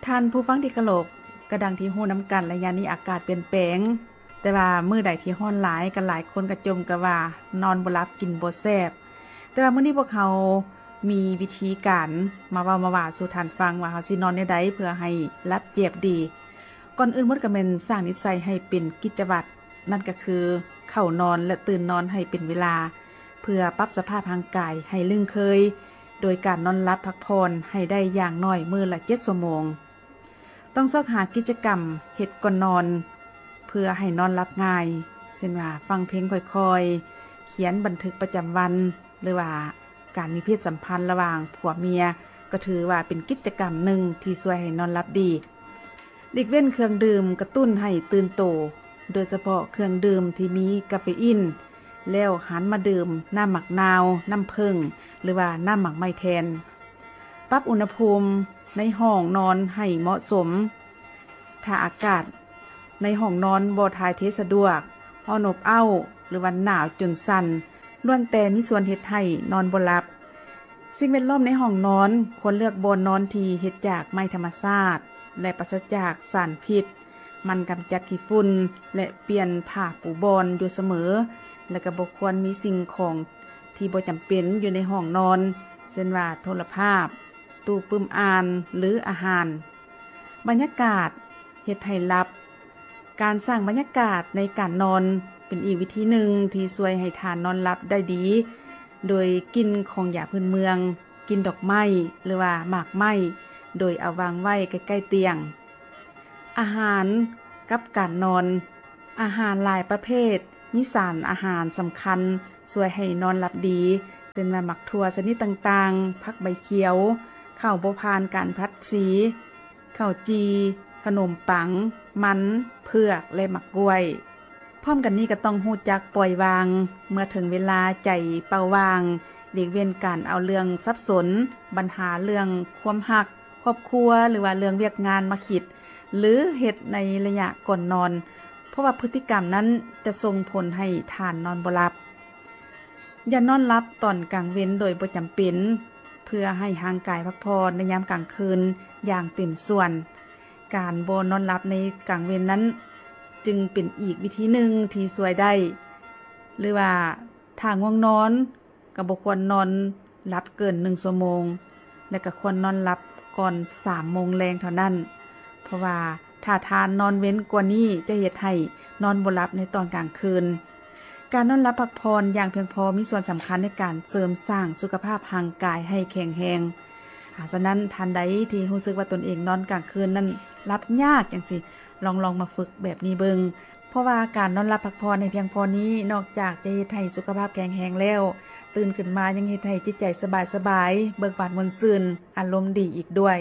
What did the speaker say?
ທ່ານຜູ້ຟັງທີ່ເຄົາລົບ, ກໍດັ່ງທີ່ຮູ້ນຳກັນ, ໄລຍະນີ້ອາກາດປ່ຽນແປງ, ແຕ່ວ່າມື້ໃດທີ່ຮ້ອນຫຼາຍ, ກໍຫຼາຍຄົນກໍຈົ່ມກັນວ່ານອນບໍ່ຫຼັບ, ກິນບໍ່ແຊບ. ແຕ່ວ່າມື້ນີ້ພວກເຮົາມີວິທີການມາເວົ້າມາວ່າສູ່ທ່ານຟັງວ່າເຮົາຊິນອນແນວໃດເພື່ອໃຫ້ຫຼັບແຈບດີ. ກ່ອນອື່ນໝົດກໍແມ່ນສ້າງນິດໄສໃຫ້ເປັນກິດຈະວັດ, ນັ້ນກໍຄືເຂົ້ານອນ ແລະ ຕື່ນນອນໃຫ້ເປັນເວລາ, ເພື່ອປັບສະພາບຮ່າງກາຍໃຫ້ລຶ້ງເຄີຍ ໂດຍການນອນຫຼັບພັກຜ່ອນໃຫ້ໄດ້ຢ່າງໜ້ອຍມື້ລະເຈັດຊົ່ວໂມງ. ຕ້ອງຊອກຫາກິດຈະກຳເຮັດກ່ອນນອນ ເພື່ອໃຫ້ນອນຫຼັບງ່າຍ, ເຊັ່ນວ່າຟັງເພງຄ່ອຍໆ, ຂຽນບັນທຶກປະຈຳວັນ ຫຼືວ່າການມີເພດສຳພັນລະຫວ່າງຜົວເມຍ ກໍຖືວ່າເປັນກິດຈະກຳໜຶ່ງທີ່ຊ່ວຍໃຫ້ນອນຫຼັບດີ. ຫຼີກເວັ້ນເຄື່ອງດື່ມກະຕຸ້ນໃຫ້ຕື່ນໂຕ, ໂດຍສະເພາະເຄື່ອງດື່ມທີ່ມີກາເຟອີນ, ແລ້ວຫັນມາດື່ມນ້ຳໝາກນາວ, ນ້ຳເຜິ້ງ ຫຼືວ່ານ້ຳໝາກໄມ້ແທນ. ປັບອຸນຫະພູມໃນຫ້ອງນອນໃຫ້ເໝາະສົມ. ຖ້າອາກາດໃນຫ້ອງນອນບໍ່ຖ່າຍເທສະດວກ, ຮ້ອນອົບເອົ້າ ຫຼືວ່າໜາວຈົນສັ່ນ, ລ້ວນແຕ່ມີສ່ວນເຮັດໃຫ້ນອນບໍ່ຫຼັບ. ສິ່ງແວດລ້ອມໃນຫ້ອງນອນຄວນເລືອກບ່ອນນອນທີ່ເຮັດຈາກໄມ້ທຳມະຊາດ ແລະ ປາສະຈາກສານພິດ, ໝັ່ນກຳຈັດຂີ້ຝຸ່ນ ແລະ ປ່ຽນຜ້າປູບ່ອນຢູ່ສະເໝີ, ແລະ ກໍບໍ່ຄວນມີສິ່ງຂອງທີ່ບໍ່ຈຳເປັນຢູ່ໃນຫ້ອງນອນ, ເຊັ່ນວ່າໂທລະພາບ, ຕູ້ປຶ້ມອ່ານ ຫຼື ອາຫານ. ບັນຍາກາດເຮັດໃຫ້ຫຼັບ. ການສ້າງບັນຍາກາດໃນການນອນເປັນອີກວິທີໜຶ່ງທີ່ຊ່ວຍໃຫ້ທ່ານນອນຫຼັບໄດ້ດີ, ໂດຍກິ່ນຂອງຢາພື້ນເມືອງ, ກິ່ນດອກໄມ້ ຫຼືວ່າໝາກໄມ້, ໂດຍເອົາວາງໄວ້ໃກ້ໆຕຽງ. ອາຫານກັບການນອນ. ອາຫານຫຼາຍປະເພດມີສານອາຫານສຳຄັນຊ່ວຍໃຫ້ນອນຫຼັບດີ, ເຊັ່ນວ່າໝາກຖົ່ວຊະນິດຕ່າງໆ, ຜັກໃບຂຽວ, ເຂົ້າບໍ່ຜ່ານການຜັດສີ, ເຂົ້າຈີ່, ຂະໜົມປັງ, ມັນ, ເຜືອກ ແລະ ໝາກກ້ວຍ. ພ້ອມກັນນີ້ກໍຕ້ອງຮູ້ຈັກປ່ອຍວາງ, ເມື່ອເຖິງເວລາໃຈເປົ່າວ່າງ, ຫຼີກເວັ້ນການເອົາເລື່ອງສັບສົນ, ບັນຫາເລື່ອງຄວາມຮັກ, ຄອບຄົວ ຫຼືວ່າເລື່ອງວຽກງານມາຄິດ ຫຼື ເຮັດໃນໄລຍະກ່ອນນອນ, ເພາະວ່າພຶດຕິກຳນັ້ນຈະສົ່ງຜົນໃຫ້ທ່ານນອນບໍ່ຫຼັບ. ຢ່ານອນຫຼັບຕອນກາງເວັນໂດຍບໍ່ຈຳເປັນ, ເພື່ອໃຫ້ຮ່າງກາຍພັກຜ່ອນໃນຍາມກາງຄືນຢ່າງເຕັມສ່ວນ. ການບໍ່ນອນຫຼັບໃນກາງເວັນນັ້ນຈຶ່ງເປັນອີກວິທີໜຶ່ງທີ່ຊ່ວຍໄດ້, ຫຼືວ່າຖ້າງ່ວງນອນ ກໍບໍ່ຄວນນອນຫຼັບເກີນໜຶ່ງຊົ່ວໂມງ ແລະ ກໍຄວນນອນຫຼັບກ່ອນສາມໂມງແລງເທົ່ານັ້ນ, ເພາະວ່າຖ້າທ່ານນອນເວັນກວ່ານີ້ ຈະເຮັດໃຫ້ນອນບໍ່ຫຼັບໃນຕອນກາງຄືນ. ການນອນຫຼັບພັກຜ່ອນຢ່າງພຽງພໍມີສ່ວນສຳຄັນໃນການເສີມສ້າງສຸຂະພາບຮ່າງກາຍໃຫ້ແຂງແຮງ. ອາ, ສະນັ້ນ, ທ່ານໃດທີ່ຮູ້ສຶກວ່າຕົນເອງນອນກາງຄືນນັ້ນຫຼັບຍາກຈັ່ງຊີ້, ລອງ, ລອງມາຝຶກແບບນີ້ເບິ່ງ. ເພາະວ່າການນອນຫຼັບພັກຜ່ອນໃຫ້ພຽງພໍນີ້ ນອກຈາກຈະເຮັດໃຫ້ສຸຂະພາບແຂງແຮງແລ້ວ, ຕື່ນຂຶ້ນມາຍັງເຮັດໃຫ້ຈິດໃຈສະບາຍໆ, ເບີກບານມ່ວນຊື່ນ, ອາລົມດີອີກດ້ວຍ.